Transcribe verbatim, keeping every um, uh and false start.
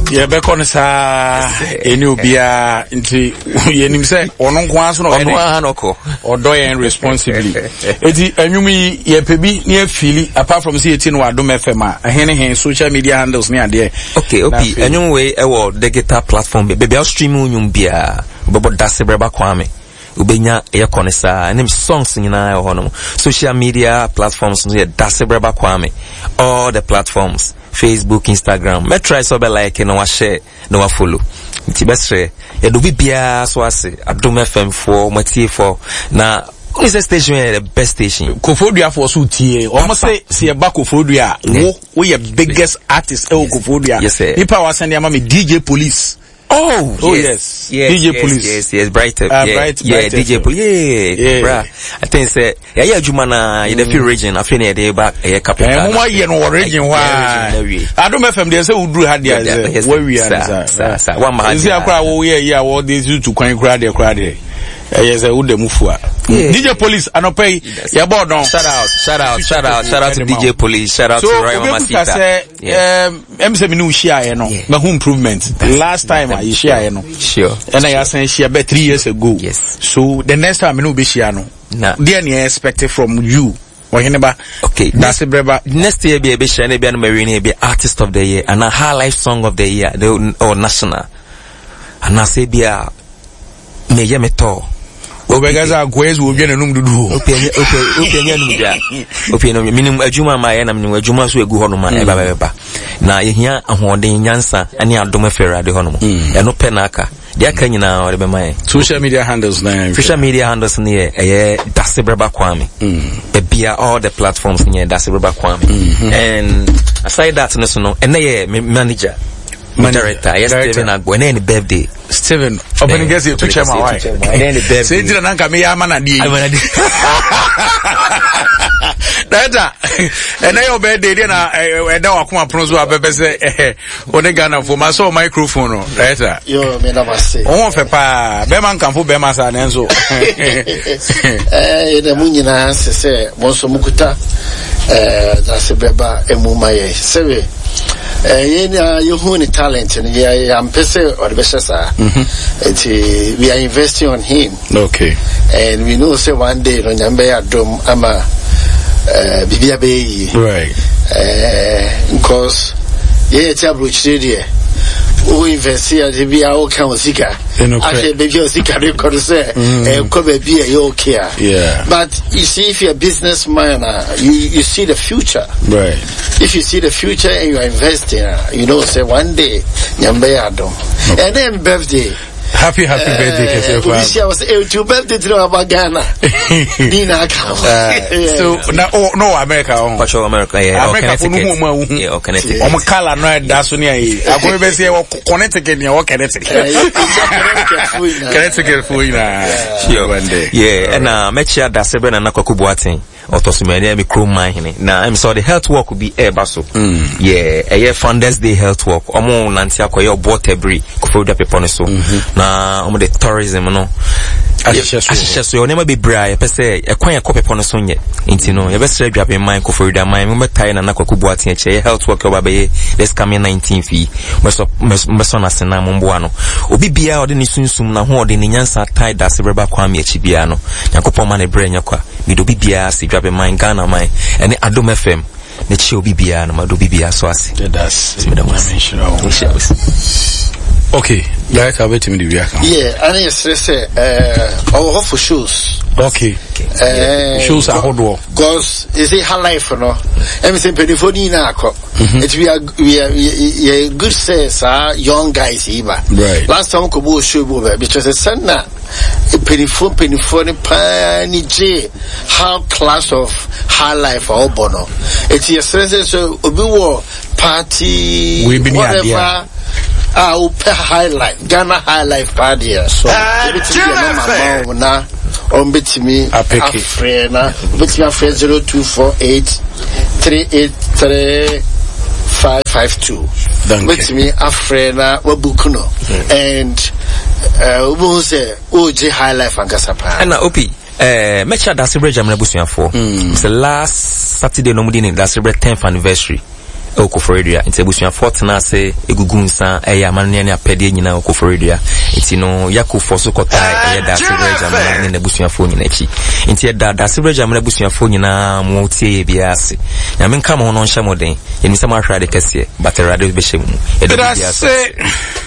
Yɛbɛkɔ no saa, ɛne obiara nti yɛnim sɛ ɔno nko ara so na ɔno ara na ɔkɔ. Ɔdɔ yɛn responsibly. Eti ɛnwom yi yɛpɛ bi ne afili, apart from sɛ yɛti no wɔ Adom F M a, ɛhe ne he social media handles ne adeɛ? Okay, opi ɛnwom wei ɛwɔ digital platform baabi a stream nnwom biara, wobɛbɔ Dasebrɛ Ba Kwame, wobɛnya ɛyɛ kɔ ne saa, ɛne songs nyinaa ɛwɔ hɔnom. Social media platforms no yɛ Dasebrɛ Ba Kwame, all the platforms, Facebook, Instagram. Mɛtry sɛ wobɛ like na wahyɛ na wafollow. Nti bɛsrɛ yɛde obi biara so ase, Adom F M foɔ, matiefoɔ, na wone sɛ station yɛ the best station. Kofoduafoɔ so tie ɔmo sɛ sɛ yɛba Kofodua a, wo woyɛ biggest artist ɛwɔ Kofodua. Yes, sir. Nipa a wasɛn de ama me D J Police. Oh, Oh, yes. yes. Yes, D J yes, Police. Yes, yes, Bright, Uh, yeah, Bright, yeah, Bright D J F M. Police. Yeah, Yeah. Bra. I think say, yeah, yeah, Juma na, you the few region, I feel they back, yeah, capital. Eh, mo ye no region Yeah, why? region, yeah. Adom F M dey say udru ha dia Yeah, say, yes, where we are, sir, sir. sir, sir. One man, Nsi yeah. akra wo ye ye wo dey to kwan kra de kra de. Eh, yes, wo dem fu a. Yeah. D J Police anope Yes. ye board on. Shout out, shout out, shout out, shout out to D J Police, shout out So, to Royal obi Mama busa Sita. say, Yeah. um, em say me no share no, Yeah. ma hu improvement. Last time I share no. Sure. And I say share about three years ago. Yes. So the next time me no be share no. Nah. There ni expect from you. Oheneba. Okay. That's it, brother. Next year be a bit share be an marine be artist of the year and a high life song of the year the, or national. And I say be a me ye me to. Obega kwezi wo dwene num dudu. Opi enye opi opi enye num dia. Opi enye minim adwuma ma ye na minim adwuma so egu ho no ma e ba ba ba. Na ye hia ahoɔden nyansa ane adom afere ho no. Eno pe na aka. Dia ka nyina ore be ma ye. Social media handles na. Social media handles ne ye eye Dasebrɛ Ba Kwame. Bebia all the platforms ne ye Dasebrɛ Ba Kwame. And aside that no so no ene ye manager. Manager. Director, yes, Director. Steven Agbo. And then birthday. Steven, open guess you to chairman why? And then the birthday. Say jina nanka me ya mana die. Amana die. Director, and then your birthday then eh da wakoma prozo abebe se eh one Ghana for my so microphone no. Director. Yo, me na mase. Owo fe pa, be man kan fo be ma sa nenso. Eh, na mu nyina se se mo so mukuta eh Dasebrɛ Ba emu ma ye. Sebe eh ye na ye hu ni talent ni ye am pese or be sa. Enti we are investing on him. Okay. And we know say one day no nyambe adom ama eh bibia be yi. Right. Eh because ye ti abrochire de o invest ya de bia o kan osika. Ahwe be bia osika record say eh ko ba bia ye okay. Yeah. But you see, if you're a businessman, uh, you you see the future. Right. If you see the future and you are investing, uh, you know say one day nyambe adom. Okay. And then birthday. Happy, happy uh, birthday, Kese. I was eh, to birthday to about Ghana. Nina uh, so now, oh no, America. Oh. Patrol America, yeah. America, oh, Connecticut. Yeah, oh, Connecticut. Oh, Kala no, that's only I. I go be say Connecticut, yeah, Connecticut. Connecticut for you na. Sure, one day. Yeah, and uh, make sure that seven and Kwaku Boateng. Otosumene mi krom man hene. Na I'm sorry, the health work will be air baso. Yeah, a year Founders Day health work. Omo nanti akoye obo tebri Koforidua pepo ne so. Na omo the tourism no. Ahyehyɛ so. Onema bebre a pese ekwan ekɔ pepo no so nye. Nti no, ye besre dwabe man Koforidua man mo betai na na Kwaku Boateng che health work oba be this coming nineteenth yi. Meso meso na sena mo mboa no. Obi bia ode ne sunsum na ho ode ne nyansa tai Dasebrɛ Ba Kwame achi bia no. Nyankopɔn ma ne bre nya kwa. Mi do bia se dwabe man Ghana man ene Adom F M ne chi obi bia no ma do bia so ase. That's okay, director wait me the reaction. Yeah, and yes say eh oh for shows. Okay. Eh shows ahodo. Because is it her life no? Em say penifo ni na akọ. It we are we are we good say sir young guys iba. Right. Last time ko bo show bo because send na penifo penifo ni pa ni je how class of her life obo no. It yes say so obi wo party whatever. Ah, uh, high life, Ghana high life party. So, na on betimi afre na betimi afre zero two four eight three eight three five five two. Betimi afre na wabook no and uh ubu say O J high life ankasa pa. And na O P eh mecha Dasebrɛ Jamina busuafo. It's the last Saturday no mudi ni Dasebrɛ tenth anniversary. Ɛwɔ Koforidua. Nti abusuafoɔ tena ase egugu nsa ɛyɛ amanneɛ ne apɛdeɛ nyinaa wɔ Koforidua. Nti no Yakofoɔ so kɔtaa ɛyɛ Daasebrɛ Gyamena ne n'abusuafoɔ nyinaa akyi. Nti ɛda Daasebrɛ Gyamena abusuafoɔ nyinaa mo tie yɛ biara ase. Nyame nka mo ho na ɔnhyɛ mo den. Yɛnim sɛ moahwɛ ade kɛseɛ, but Awurade bɛhyɛ mo mu. Yɛda Yɛda biribiara so ase. ase.